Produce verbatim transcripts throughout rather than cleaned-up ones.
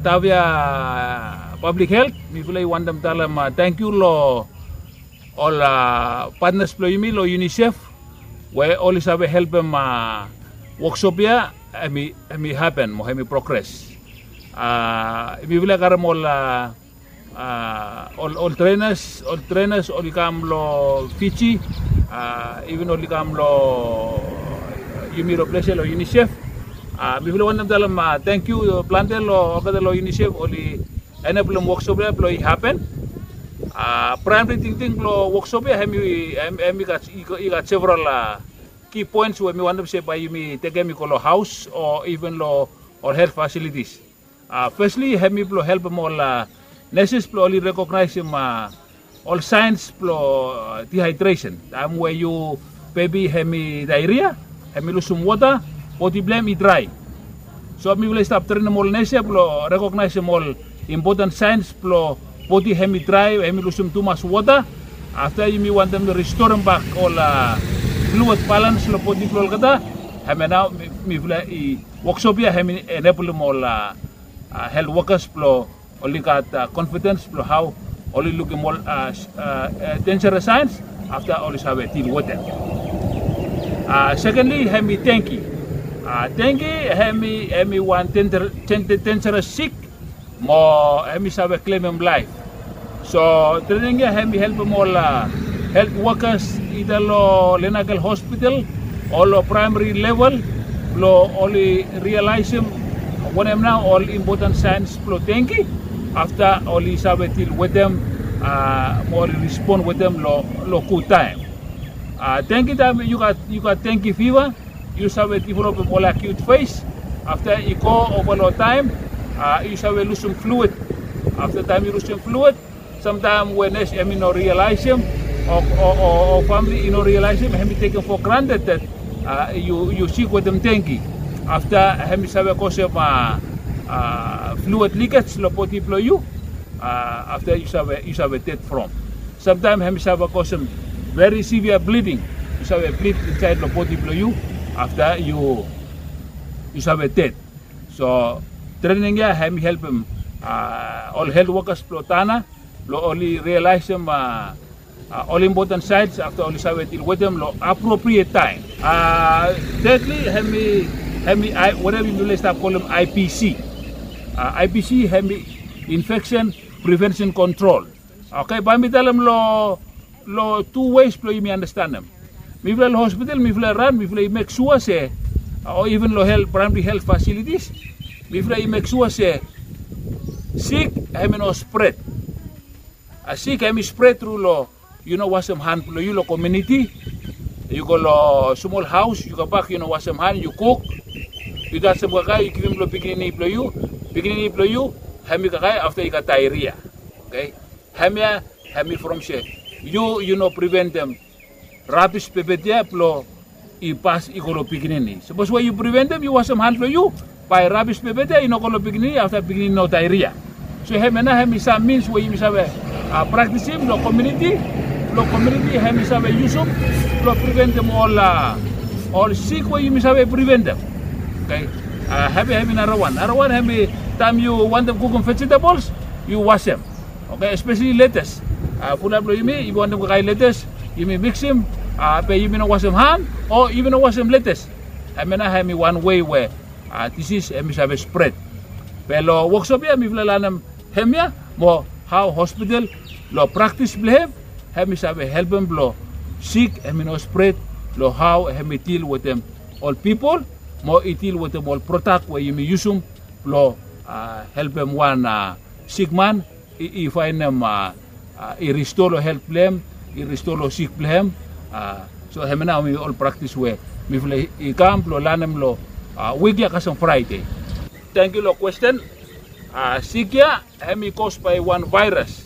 Tavia Public Health, mifala i wantem talem tangkiu long ol patnas blong yumi long UNICEF we oli save helpem woksop ya hemi hapen mo hemi progres. Mifala i karem ol ol trenas ol trenas oli kam long Fiji, even oli kam long yumi long ples ya long UNICEF. Mifala wantem talem tangkiu plante long olgeta long UNICEF oli eneblem woksop ya blong i hapen. Praemri tingting blong woksop ya hemi gat several ki poens we mi wantem se bae yumi tekem i go long haos o even long ol helt fasilitis. Fesli hemi blong helpem ol neses blong oli rekognaesem ol saens blong dihaedresen taem we yu bebi hemi daeria, hemi lusum wota, bodi blong hem i drae. So mifala i stap trenem ol nes ya blong rekognaesem ol impoten saens blong bodi hemi drae, hemi lusum tumas wota. Afta yumi wantem ristorem bak ol fluid balans long bodi blong olgeta. Hemia nao mifala i woksop ya hemi eneblem ol helt wokas blong oli gat konfidens blong hao oli lukim ol denjeres saens afta oli save dil wetem. Sekenli hemi dengi. Dengi hemi wan denjeres sik mo hemi save klemem laef. So trening ya hemi helpem ol helt wokas ida long Lenakel Hospital o long praemari level blong oli rialaesem wanem nao ol impoten saens blong dengi. Afta oli save dil wetem mo oli rispon wetem long gud taem. Dengi taem yu gat dengi fiva, yu save developem ol akiut fes. Afta i go ova long taem yu save lusum fluid. Afta taem yu lusum fluid, samtaem we nes hemi no rialaesem o famili i no rialaesem, hemi tekem fo granted dat yu sik wetem dengi. Afta hemi save kosem fluid likej long bodi blong yu. Afta yu save ded from. Samtaem hemi save kosem veri sivia bliding. Yu save blid insaed long bodi blong yu. Afta yu save ded. So trening ya hemi helpem ol helt wokas blong Tana blong oli rialaesem ol impoten saens afta oli save dil wetem long apropriet taem. Tedli hemi wanem yumi lestap kolem IPC. IPC hemi infeksen prevensen kontrol. Oke, bae mi talem long tu weis blong yumi andastanem. Mifala long hospital mifala i ran, mifala i mek sua se o even long praemari helt fasilitis mifala i mek sua se sik hemi no spret. Sik hemi spret tru long yu no wasem han blong yu long komuniti. Yu go long smol haos, yu kambak yu no wasem han, yu kuk, yu tasem kakae yu givim long pikinini blong yu. Pikinini blong yu hemi kakae afta i gat daeria. Oke, hemia hemi from se yu yu no priventem rabis pepet ya blong i pas i go long pikinini. Sapos we yu priventem, yu wasem han blong yu, bae rabis pepet ya i no go long pikinini afta pikinini no daeria. So hemia nao hemi sam mins we yumi save praktisim long komuniti blong komuniti hemi save yusum blong priventem ol sik we yumi save priventem. Oke, hemia hemi narawan. Narawan hemi taem yu wantem kukum vejetables, yu wasem. Oke, espeseli letes. Fulap blong yumi yumi wantem kakae letes, yumi miksim, be yumi no wasem han o yumi no wasem letes. Hemia nao hemi wan wei we disis hemi save spret. Be long woksop ya mifala lanem hemia mo hao hospital long praktis blong hem hemi save helpem blong sik hemi no spret, long hao hemi dil wetem ol pipol mo i dil wetem ol prodak we yumi yusum blong helpem wan sikman i faenem i risto long helt blong hem, i risto long sik blong hem. So hemia nao hemi ol praktis we mifala i kam blong lanem long wik ya kasem Fraede. Tangkiu long kwesten. Sik ya hemi kos bae wan vaeras.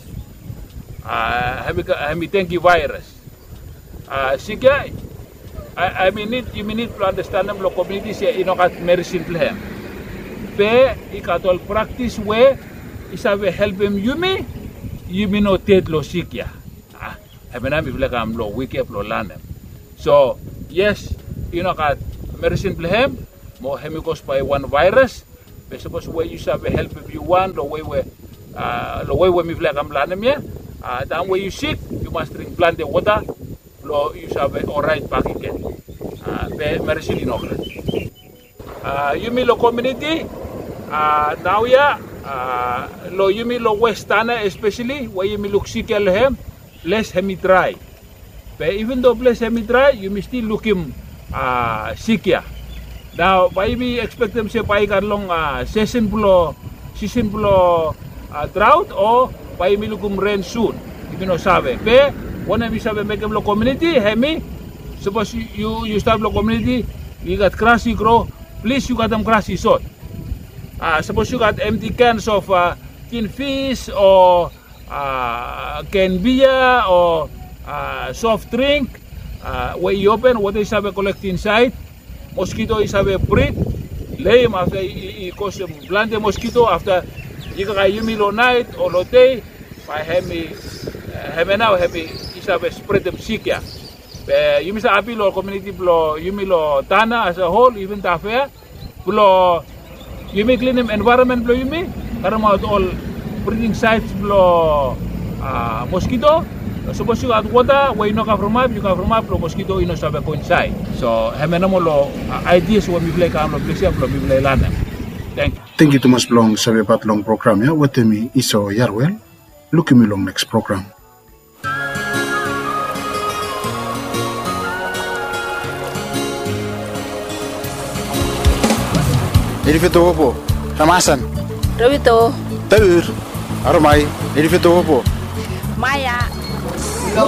Hemi dengi vaeras. Sik ya hemi nid yumi nid blong andastanem long komuniti se i no gat meresin blong hem. Be i gat ol praktis we i save helpem yumi yumi no ded long sik ya. Hemia nao mifala i kam long wik ya blong lanem. So yes, i no gat meresin blong hem mo hemi kos bae wan vaeras. Be sapos we yu save helpem yu wan long wei we, a, long wei we mifala i kam lanem ia, a, taem we yu sik yu mas dring plante wota blong yu save oraet bakegen. A, be meresin i no gat. A, yumi long komuniti, a, naoia, a, long yumi long West Tanna espeseli we yumi luk sik ia long hem, ples hemi drae. Be iven do ples hemi drae yumi stil lukim, a, sik ia. Nao bae yumi ekspektem se bae i gat long, a, sisen blong, sisen blong, a, draot o bae yumi lukim ren sun. Yumi no save. Be wanem yu save mekem long komuniti hemi, sapos yu, yu stap long komuniti, i gat gras i gro, plis yu katem gras i sot. A, sapos yu gat empty cans of, a, tin fis o, a, can bia o, a, soft drink, a, we i open, wota i save kolektem insaed, moskito i save brid, leim afta i, i, i kosem plante moskito afta i kakae yumi long naet o long dei, bae hemi, hemia nao hemi i save spredem sik ia. Be yumi save apil long komuniti blong yumi long Tanna as a whole, iven Tafea, blong yumi klinim envaeronmen blong yumi, karemaot ol briding saets blong, a, moskito. Sapos yu gat wota we i no kavremap, yu kavremap blong moskito i no save go insaed. So hemia nomo long, a, aidias we mifala i kam long ples ia blong mifala i lanem. Tangkiu. Tangkiu tumas blong savebat long program ia wetem mi Iso Yarwel. Lukim yu long neks program. Elifeto wopo, Ramasan. Rovito. Taur. Aromai, Elifeto wopo. Maya.